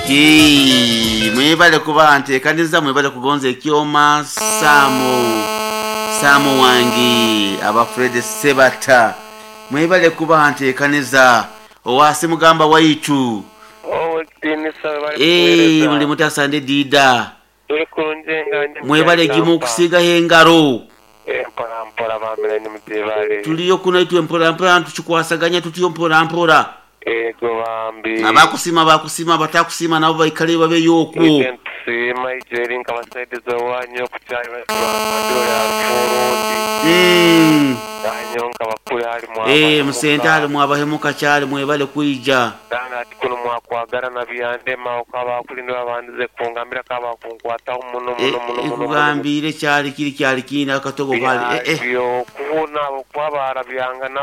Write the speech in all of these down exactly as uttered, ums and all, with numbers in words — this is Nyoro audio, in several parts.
Ati mwebale kuba nteekaniza, mwebale kugonza ekyoma. Saamu Saamu wange, aba Fred Sebata, mwebale kuba nteekaniza owasi mugamba waitu. Owekitiinisa, webale Eh, kuweereza. muli mutasande dida? Tuli kurungi nga ndi. Mwebale gimu okusigaho engaro. Mpola mpola bamira ni mutebale. Tuliyo kuno itwe mpola mpola, tukikwasaganya tutyo mpola mpola. Ego bambi. Abakusima bakusima, abatakusima nabo baikale babeyo okwo. Ite ntusiima ijeri nkabasaidiza wanyu okukyali badole arufurundi. Mm. Nanyo nkabakule ali mwa. Eh, musente ali mwabahemuka kyali, mwebale kwija. Dana ati kuno mwakwagala na byandema okaba kulinda abandize kungambira kaba kunkwataho muno Eh, muno muno muno. Nkugambire kyali kiri kyali kina akatogo kali eh, eh. Byo kubona abo kuba byangana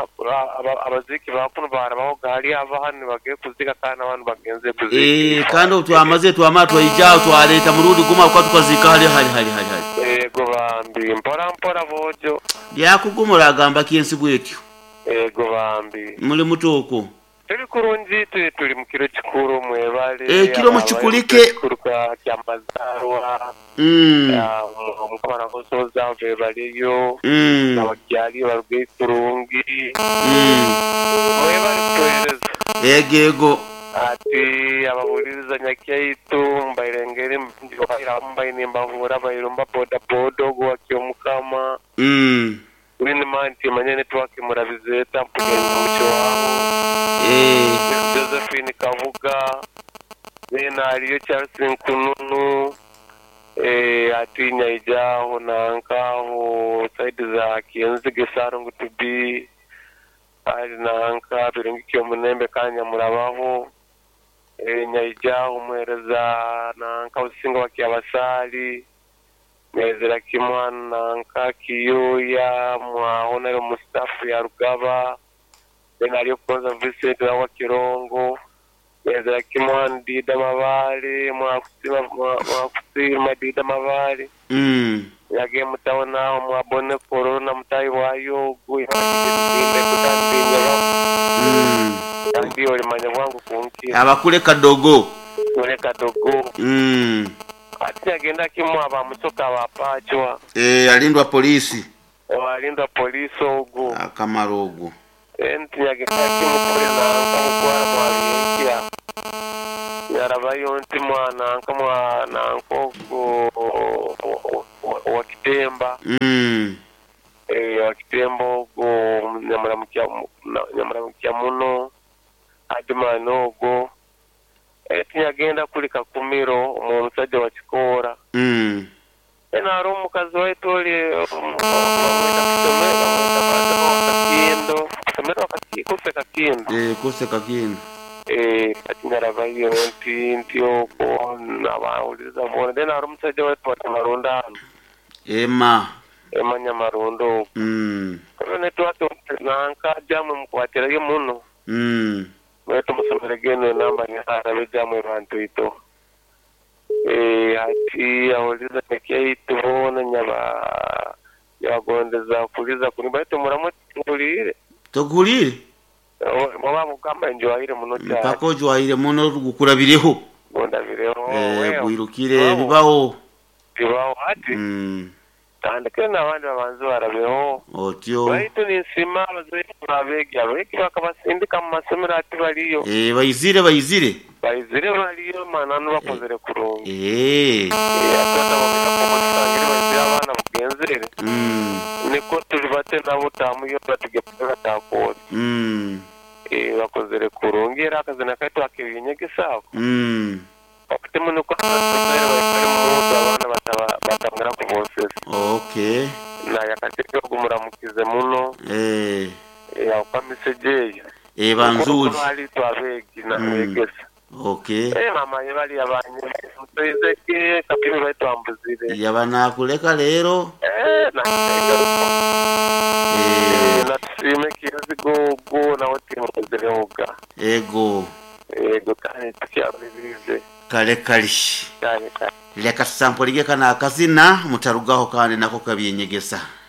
abaziki bakuno barabaho gali ava hano bagiye kuzika kandi abantu bagenze kuzika. Eh, kandi obu twamaze twamara twaija twaleeta murundi guma kuba tukazika hali hali hali hali hali. Ego bambi, mpora mpora bojo. Byakugumura agamba kinsi bwetyo. Ego bambi. Muli mutooko? Tuli kurungi, tuli tuli mu kiro kikuru, mwebale. Eh, kiro mukikulike. Kikuru ka kyamazarwa. Mm. Omukama nakusoza bebaliyo. Mm. Abakyali baruge kurungi. Mm. Mwebale kutuweereza. Ego ego. Ati abahuliriza nyakyaitu mbairengere mbaine mbahura bairumba boda boda ogwo wakyomukama. Mm. Winima nti manye network murabizeta mpugenda mukiwaho. Eh. Josephine Kavuga then aliyo Charles Nkununu, eh, ati nyaijaho nankaho side za Kienzige Sarungu to be ali nanka birungi kyomunembe kanya murabaho, eh, nyaijaho muhereza nanka usinga wakyabasali nyezera kimwana nanka kiyuya mwaho nayo Mustafa ya Rugaba, then aliyo kukoza Vincent wa Kirongo, nyezera kimwana Dida Mabale mwakusima mwakusima Dida Mabale. Mm. Yage mutaona mwabone corona mutayi wayo guyimbe kutandinya. Mm. Kandi olimanya bwangu kunki. Abakule kadogo. Ule kadogo. Mm. Ati agenda kimu abamusoka abapachwa. Eh, alindwa polisi. Walindwa polisi ogu. Akamaro ogwo. Enti yagenda kimu kule nanka mukwara mwabyenkya yarabayo nti mwana nka mwana nkogo wa kitemba. Mm. Eh, wa kitemba ogwo nyamuramukya nyamuramukya muno adimana ogwo. Eti yagenda kuli kakumiro omusajja wa kikoora. Mm. Ena ari omukazi waitu oli bamweta kusomera bamweta kakindo kusomera kuse kakindo. Eh, kuse kakindo. Eh, ati nyarabayo nti nti okwo nabawuliriza bona, then ari omusajja waitu watamarunda hano. Ema. Ema nyamarundo okwo. Mm. Kano network nanka jamwe mukwatirayo muno. Mm. Mwetu musomere geno enamba nyarabe jamwe bantu ito. Eh, ati awuliza nekyaitu bona nyaba nyabagondeza kuliza kuni baitu muramu tulire. Togulire. Baba mugamba njwahire muno cyane. Mpaka ojwahire muno gukurabireho. Gondabireho. Eh, gwirukire bibaho. Bibaho ati. Mm. Tandike n'abandi babanzi barabeho. Otyo. Baitu ninsima abazaire babegi abegi bakabasindika mu masomero ati baliyo. Eh, bayizire bayizire. Bayizire baliyo mananu bakozere kurungi. Eh. Eh, ati bakamutangire bayizire abana bugenzere. Mm. Niko tuli bate nabo tamuyo batugepera takose. Mm. Eh, bakozere kurungi era akazina kaitu akebyenyegesa. Mm. Bakute muno ko abazaire bayikare mu abana bataba batangara kubosesa. Okay. Na yakateke gumuramukize muno. Eh. Yakwa misejeyo. Eh, banzuri. Bali twabegi na Mm. begesa. Okay. Eh, mama bali abanye. Mutezeke kapimi baitwambuzire. Yaba nakuleka leero. Eh, na Eh, natusime kizigogo nawe timukozerehoga. Ego. Ego kandi tukyabulirize. Kale kale. Kale kale. Leka tusampulige kana akazina mutarugaho kandi nako kabyenyegesa.